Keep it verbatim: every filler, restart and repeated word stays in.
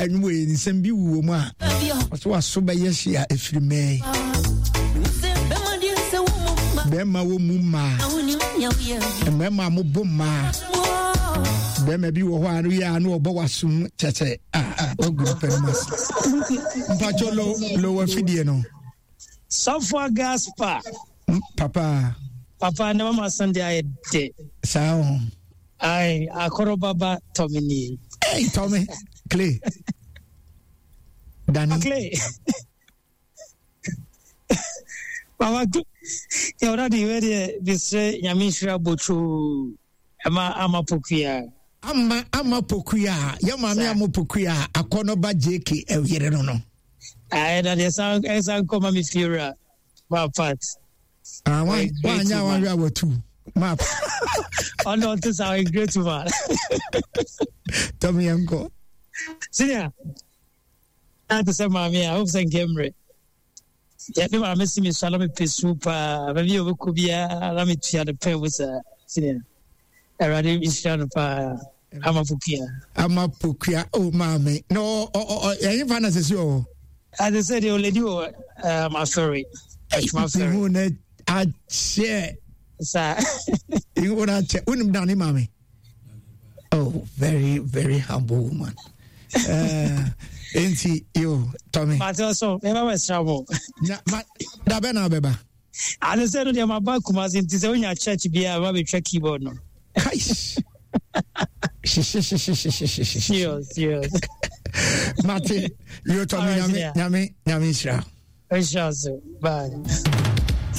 Ɛnwom wei nsɛm bi wuo mu a ɔsɛ waso bɛyɛ hye a ɛfiri mɛɛ bɛrima wɔ mu mmaa, mmarima a mobɔ mmaa, bɛrima bi wɔ hɔ a no yɛ a no ɔbɔ wasom kyɛkyɛ a wagu nipa no mu ase. Mpakyɛ lo lo wafidie no. Sɔfoɔ Gaspar. Papa. Papa ne mama Sunday ayɛ dɛ. Saa o. Ayi akɔrɔ baba tɔmi nie. Hey, Tommy Clay. Danny. Clay. Papa yɛwura de wei deɛ bisrɛ Nyame nhyira botoo ɛma ama pokuya. Ama ama pokuya yɛ maame ama pokuya akɔnɔba J K ɛyere no no. Ayi na deɛ san ɛsan kɔ ma mi fie wura ma part. Ah, wa wanya wanhwɛ a watu map. Ɔno ɔte sa ɔyɛ great man. Tɔmi yɛn kɔ. Senior, na te sɛ maame a hope sɛ nkɛ mmerɛ yɛde maame si mi so a na mepɛ su paa, baabi a wɔbɛkɔ biara na metua no pɛn mu saa. Senior, Awurade nhyira no paa, ama pokuya. Ama pokuya o maame na ɔ ɔ ɔ ɛyin fa na sisi ɔwɔ. Ade sɛ deɛ ɔlɛdi wɔ um, afɛre atwuma fɛre. Ihu na akyɛ. Saa. Ihu na akyɛ, wonim dan ne maame. Oh, very very humble woman. Uh, nti yo Tommy. Mate ɔsɔ mɛba bɛsra mo. Na ma dabɛ na abɛba. Ade sɛ no deɛ maba Kumase, nti sɛ wonya church biara ma bɛtwa keyboard no. Kais. Serious, serious. Mate yo Tommy, nyame nyame nyame nhyira. Nhyira so, bye.